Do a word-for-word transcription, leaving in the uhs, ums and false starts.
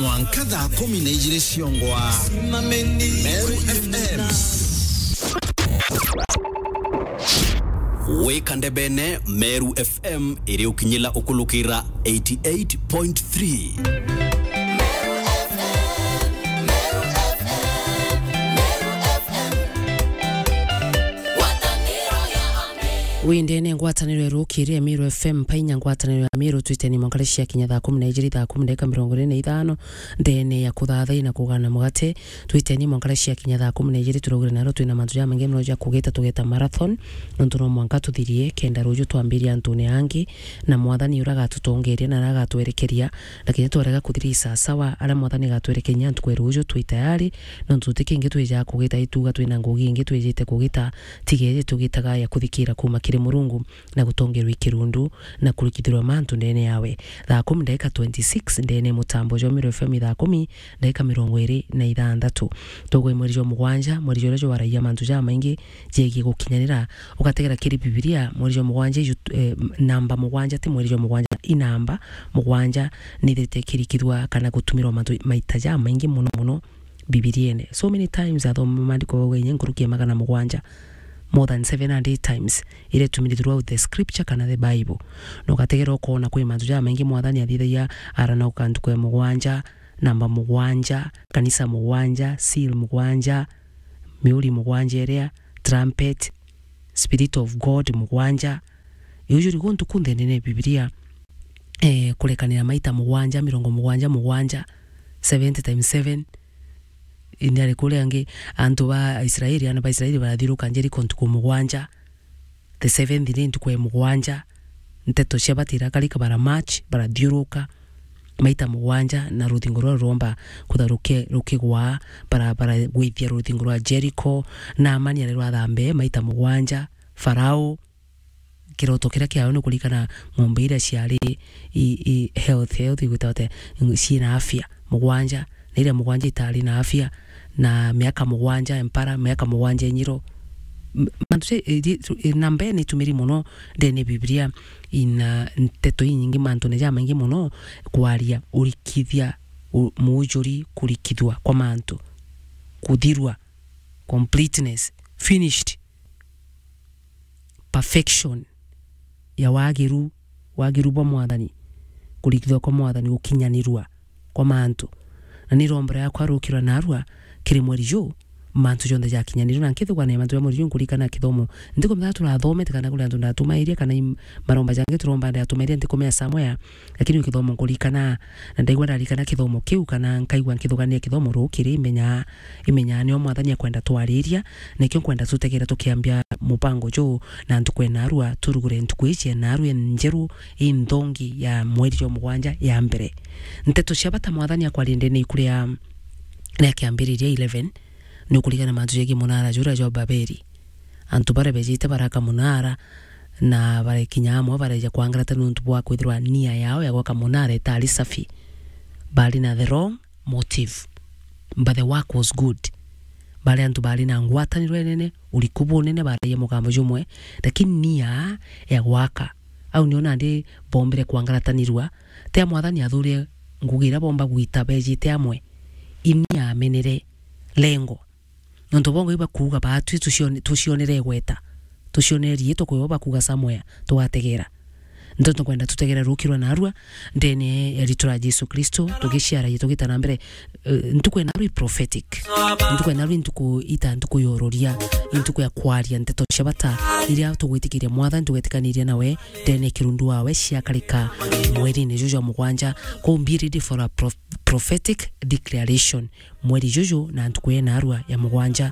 Mwanka thaa kumi na ijiri ciongwa. Meru F M. Wika ndebene Meru F M iri ukinyila ukulukira eighty eight point three. Wi ndene ngwataniro ya rukiri ya Meru F M, painya ngwataniro ya Meru, twiteni mwanka cia kinya thaa kumi na ijiri, thaa kumi ndagika mirongo iri na ithano, ndene ya kuthathai na kugana mugate, twiteni mwanka cia kinya thaa kumi na ijiri, turugire naro twina mantu jamaingi mono ja kugita, tugeta marathon, nontu no mwanka tuthirie, kenda ruju twambiria antune angi, na Mwathani uria agatutongeria na aria agatwerekeria, lakini twarega kuthiria sawasawa, aria Mwathani agatwerekeria ntuku ya ruju twi tayari, nontu tuti kingi twijaga kugita ituga twina ngugi ingi twijite kugita, tiga iji tugitaga ya kuthikira kuuma kiri Murungu, na gutongerwa i kirundu, na kurikithirwa mantu ndene yawe. Thaa kumi ndagika twenty six ndene mutambo jwa Meru F M, thaa kumi ndagika mirongo iri na ithanthatu. Tugwe mweri jwa mugwanja, mweri juria jwaragia mantu jamaingi jegie gukinyanira, ugategera kiri Bibilia, mweri jwa mugwanja iju, eh, namba mugwanja, ti mweri jwa mugwanja, i namba mugwanja nithirite ikirikithua kana gutumirwa mantu maita jamaingi mono mono Bibiriene. So many times athoma maandiko bauga inya nkuruki ya magana mugwanja, more than seven hundred times, iria itumire throughout the scripture kana the Bible. Na ugategera ukoona kwi mantu jamaingi Mwathani athithagia, arana ukanduku ya mugwanja, namba mugwanja, kanisa mugwanja, seal mugwanja, miuri mugwanja iria, trumpet, Spirit of God mugwanja. Iu juri guntu kunthe ndene ya Bibilia, eh, kurekanira maita mugwanja, mirongo mugwanja, mugwanja, seventy times seven. Indi ari kuria angi, antu ba Israeli, aana ba Israeli barathiuruka Jeriko ntuku mugwanja. The seventh day ntuku ya mugwanja, nteto cia bata irakarika, bara march, barathiuruka maita mugwanja, na ruthingo ruria ruromba kutha ruki-, rukigwa, bara-, baragwithia ruthingo rwa Jericho, Naamani arerwa athambe maita mugwanja, Farao, kiroto kiria kiawe ni kurikana ng'ombe iria ciari i, i health, health igwita ate, ciina afya mugwanja, na iria mugwanja itari na afya, na miaka mugwanja empara, miaka mugwanja inyiro. M-, mantu ja, i, i, i, namba ni itumiri mono ndene Biblia, ina nteto inyingi, mantu ni jamaingi mono kwaria, urikithia, u-, muujuri, kurikithua kwa mantu, kuthirua, completeness, finished, perfection, ya wagiru, wagiru bwa Mwathani, kurikithua kwa Mwathani, gukinyanirua kwa mantu. Na ni rombora yakwa rukirwa narua kiri mweri juu, mantu jonthe jakinyanirua, na nkithugania mantu ja mweri juu, nkurikana kithomo nthiko mithatu turathomete, kana kuri antu ndatumairia, kana i maromba jangi turomba ndatumairia, nthiko mea somewhere, lakini kithomo nkurikana, na ndaigua ndarikana kithomo kiu, kana nkaigua nkithugania kithomo rukiri, imenya, imenya nio Mwathani akwenda twariria, nikio nkwenda tutegera tukiambia mubango juu, na ntuku ya narua, turugure ntuku iji ya narua njeru, inthongi ya mweri jwa mugwanja ya mbere. Nteto cia bata Mwathani akwaria ndene iku ria, ria Kiambiriria eleven, ni ukurikana mantu jegii munara juria jwa Babeli. Antu baria bejite baraka munara, na barekinya amwe bareja kwangarata niuntu bwa kwithirwa nia yao ya gwaka munara itari safi. Bari na the wrong motive, but the work was good. Bari antu bari na ngwataniro inene, uriku bunene, baraia mugambo jumwe, lakini nia ya gwaka, au nio nandi bombire kwangaratanirua. Tia Mwathani athurire ngugi iria bomba gwita bejite amwe, inia amenere lengo. Nontu bongo ibakuuga baatwi tucione-, tucionere igweta, tucionere riitwa kwi bo bakuuga somewhere, tugategera. Nontu nkwenda tutegera rukirwa narua ndene ya riitwa ria Jesu Kristo, tugiciaragia tugita na mbere. Eh, ntuku ya narua i prophetic. Ntuku ya narua i ntuku ita ntuku ya uroria, i ntuku ya kwaria nteto cia bata iria tugwitikiria Mwathani, tugetikaniria nawe ndene ya kirundu wawe ciakarika mweri-ini juju jwa mugwanja. Kou be ready for a pro-, prophetic declaration mweri juju na ntuku ya narua ya mugwanja.